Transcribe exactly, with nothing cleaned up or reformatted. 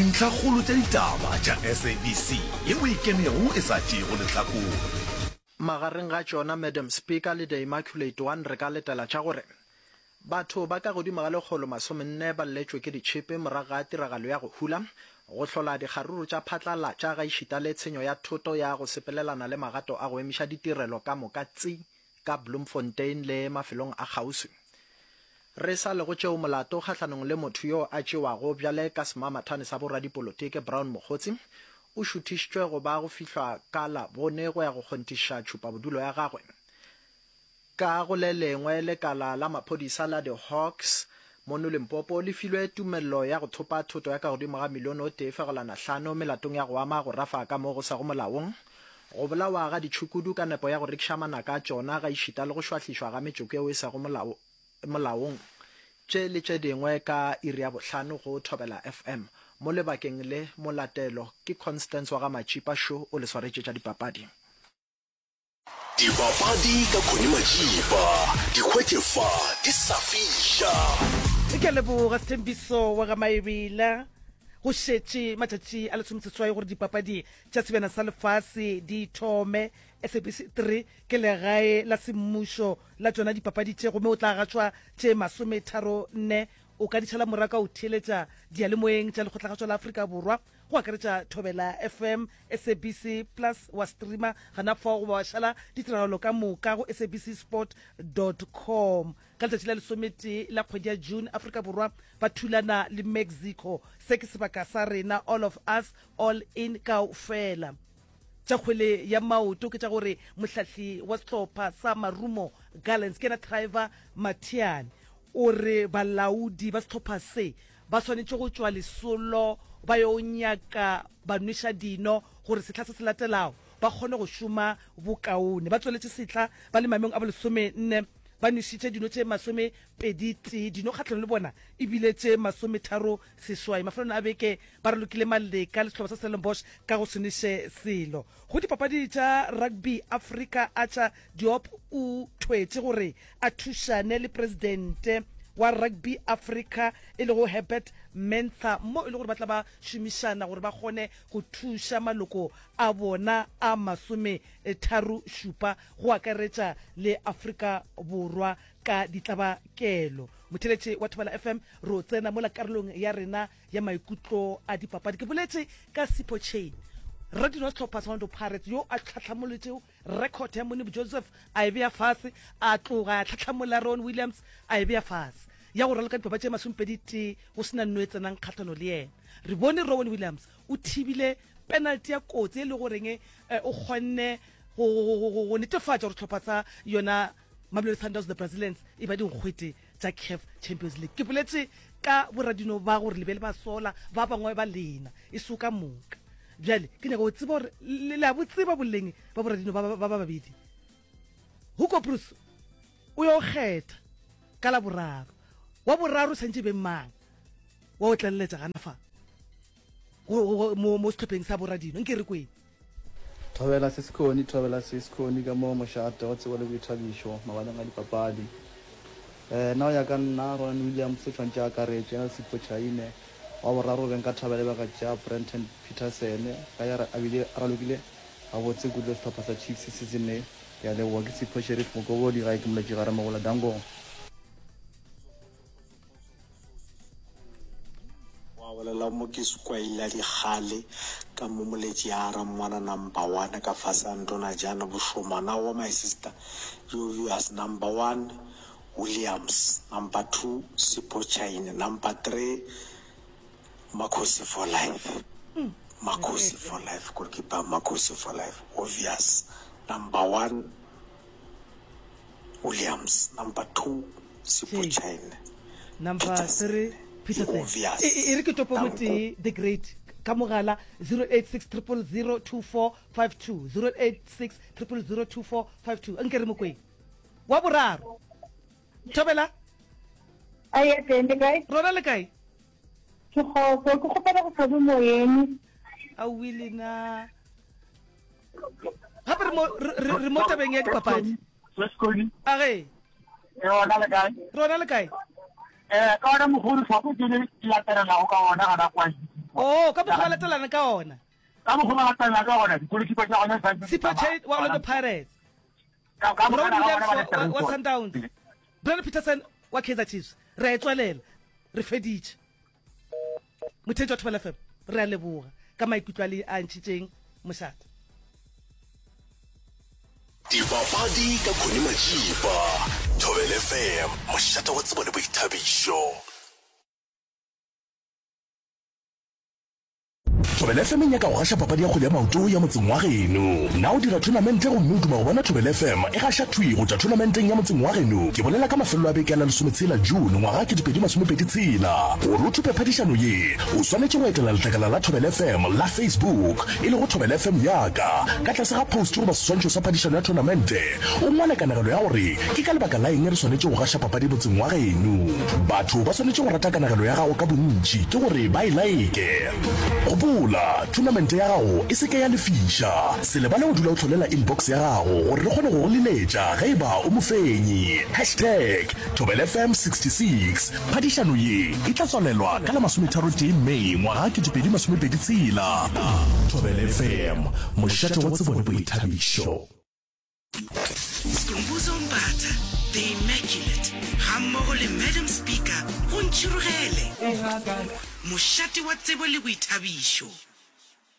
Dintlhakgolo tša ditaba tša S A B C yeo e kenego e sa tšeego lehlakore. Magareng ga tšona Madam Speaker le The Immaculate One re ka letela tša gore batho ba ka godimo ga lekgolo masomenne ba lletšwe ke ditšhipi morago ga tiragalo ya go hula, go hlola dikgaruru tša phatlalatša gaešita le tshenyo ya thoto ya go sepelelana le magato a go emiša ditirelo ka moka tsi ka Bloemfontein le mafelong a kgauswi. Re sa le go tšeo, molato kgahlanong le motho yo a tšewago bjale ka semamathane sa boradipolotiki Brown Mogotsi o šuthišitšwe go ba go fihlwa ka Labone go ya go kgonthišiša tšhupabodulo ya gagwe. Ka go le lengwe, lekala la maphodisa la The Hawks mono Limpopo le filwe tumello ya go thopa thoto ya ka godimo ga milione o tee fegelwana hlano melatong ya go ama go rafa ka mo go sego molaong, go bolawa ga ditšhukudu ka nepo ya go rekiša manaka a tšona gaešita le go šwahlišwa ga metšoko yeo e sego molao molaong. Tše le tše dingwe ka iri ya bohlano go Thobela F M. Mo lebakeng le molatelo ke Constance wa ga Matšipa šo o le swaretše tša dipapadi. Dipapadi ka Connie Matšipa, di hwetše fa di sa fiša. Ke a leboga Sthembiso wa ga Maebela. Go šetše matšatši a lesomeseswai gore dipapadi tša Sebjana sa Lefase di thome. S A B C three ke legae la semmušo la tšona dipapadi tše gomme o tla gašwa tše masometharo nne. O ka di šala morago ka go theeletša diyalemoyeng tša Lekgotlagašo la Afrika Borwa go akaretša Thobela F M, S A B C Plus, wa streamer gana fao goba wa šala ditiragalo ka moka go S A B C sport dot com. Ka letšatši la lesometee la kgwedi ya June, Afrika Borwa ba thulana le Mexico. Se ke sebaka sa rena, all of us, all in, kaofela. Tša kgwele ya maoto ke tša gore mohlahli wa sehlopha sa Marumo Gallants ke yena Trevor Mathiane o re balaodi ba sehlopha se ba swanetše go tšwa lesolo ba yo nyaka banweša dino gore sehla se se latelago ba kgone go šoma bokaone. Ba tsweletše sehla ba le maemong a bolesome nne ba nwešitše dino tše masome pedi tee, dino kgahlanong le bona e bile tše masometharo seswai. Mafelong a beke ba ralokile maleka le sehlopha sa Stellenbosch ka go se nweše selo. Go dipapadi tša Rugby Africa, Archer Diop o thwetše gore a thušane le presidente wa Rugby Africa e lego Herbert Mensah mo e le gore ba tla ba šomišana gore ba kgone go thuša maloko a bona a masome tharo šupa go akaretša le Afrika Borwa ka ditlabakelo. Motheletše wa Thobela F M, re o tsena mola karolong ya rena ya maikutlo a dipapadi. Ke boletše ka Sipho Chaine, radino wa sehlopha sa Orlando Pirates yo a tlhahlamolotšego record ya Moneeb Joseph a e bea fase, a tloga a tlhahlamola Ron Williams a e bea fase ya go raloka dipapadi tše masomepedi tee go se na nno e tsenang kgahlano le yena. Re bone Rowan Williams o thibile penalty ya kotsi e le goreng o kgonne go netefatša gore sehlopha sa yona Mamelodi Sundowns the Brazilians e ba dinkgwete tša CAF Champions League. Ke boletše ka boradino ba gore le be le ba sola ba bangwe ba lena e se ka moka. Bjale ke nyaka go tseba gore le a bo tseba boleng ba boradino ba ba babedi. Hugo Broos o yo kgetha ka la boraro. Wa boraro santše be mang wa o tlaleletša gana fa mo mo sehlopheng sa boradino nke re kweng. Thobela se sekhoni, thobela se sekhoni ka mo mošate wa tsebo le boithabišo mabaleng a dipapadi. Eh, nna go ya ka nna, Ronwen Williams o tshwanetše a akaretšwe, yena le Sipho Chaine. Wa boraro be nka thabela e be ka tšea Brenton Petersen, ka ge a bile a ralokile gabotse kudu le sehlopha sa Chiefs season ye. Ke a leboga, ke Sipho Sheriff Mokobodi, gae ke Moletši Gare Mogola, Danko. Wa bolela mo ke sekwaila dikgale ka mo moletši a ra ngwana number one ka fase a ntona jana bošomana wa my sister Jovius number one Williams number two Sipho Chaine number three Makhosi for life Makhosi for life goalkeeper Makhosi for life obvious number one Williams number two Sipho Chaine number three Peterson obvious e re ke topo motee the great ka mogala zero eight six zero zero zero two four five two, zero eight six zero zero zero two four five two. Nke re mokweng wa boraro. Thobela. Aye, teng le kae? Rona le kae? Ke kgotso, ke kgopela go tlhobe moyeng. Aowi lena gape re mo re re mo tabeng ya dipapadi. A ge Rona le kae? Rona le kae? Eh, ka ona mogolo tlhoko ke le latelelago ka ona gana kwa. Oh, ka mokgwa ba latelana ka ona. Ka mokgwa ba latelana ka ona, di-goalkeeper tša gona di Sipho Chaine wa Orlando Pirates. Ka ka Ronwen mokgwa Williams ba wa, wa, wa latelana. Sundowns. Brandon Petersen wa Kaizer Chiefs. Re a e tswalela. Re feditše. Motheetši wa Thobela F M, re a leboga ka maikutlo a le a ntšhitšeng mošate. Dipapadi ka Connie Majiba. Thobela F M, mošate wa tsebo le boithabišo. Thobela F M e nyaka go gaša papadi ya kgwele ya maoto ya motseng wa geno. Na o dira thonamente gomme o duma go bona Thobela F M e gaša thwi go tšwa thonamenteng ya motseng wa geno? Ke bolela ka mafelelo a beke a la lesometshela June ngwaga kete pedi masomepedi tshela. Gore o thope phadišano ye, o swanetše go etela letlakala la Thobela F M la Facebook, e lego Thobela F M Yaka. Ka tlase ga post goba seswantšho sa phadišano ya thonamente, o ngwale kanegelo ya gore ke ka lebaka la eng re swanetše go gaša papadi motseng wa geno. Batho ba swanetše go rata kanegelo ya gago ka bontši, ke gore ba e like. Gopola, thonamente ya gago e se ke ya lefiša. Se lebale go dula o hlolela inbox ya gago gore re kgone go go leletša ge e ba o mofenyi. Hashtag Thobela F M sixty-six. Phadišano ye e tla tswalelwa ka la masometharo-tee May ngwaga kete pedi masomepedi tshela. Thobela F M, mošate wa tsebo le boithabišo. Skhumbuzo Mbatha, The Immaculate, gammogo le Madam Speaker go Ntšhirogele, mošate wa tsebo le boithabišo.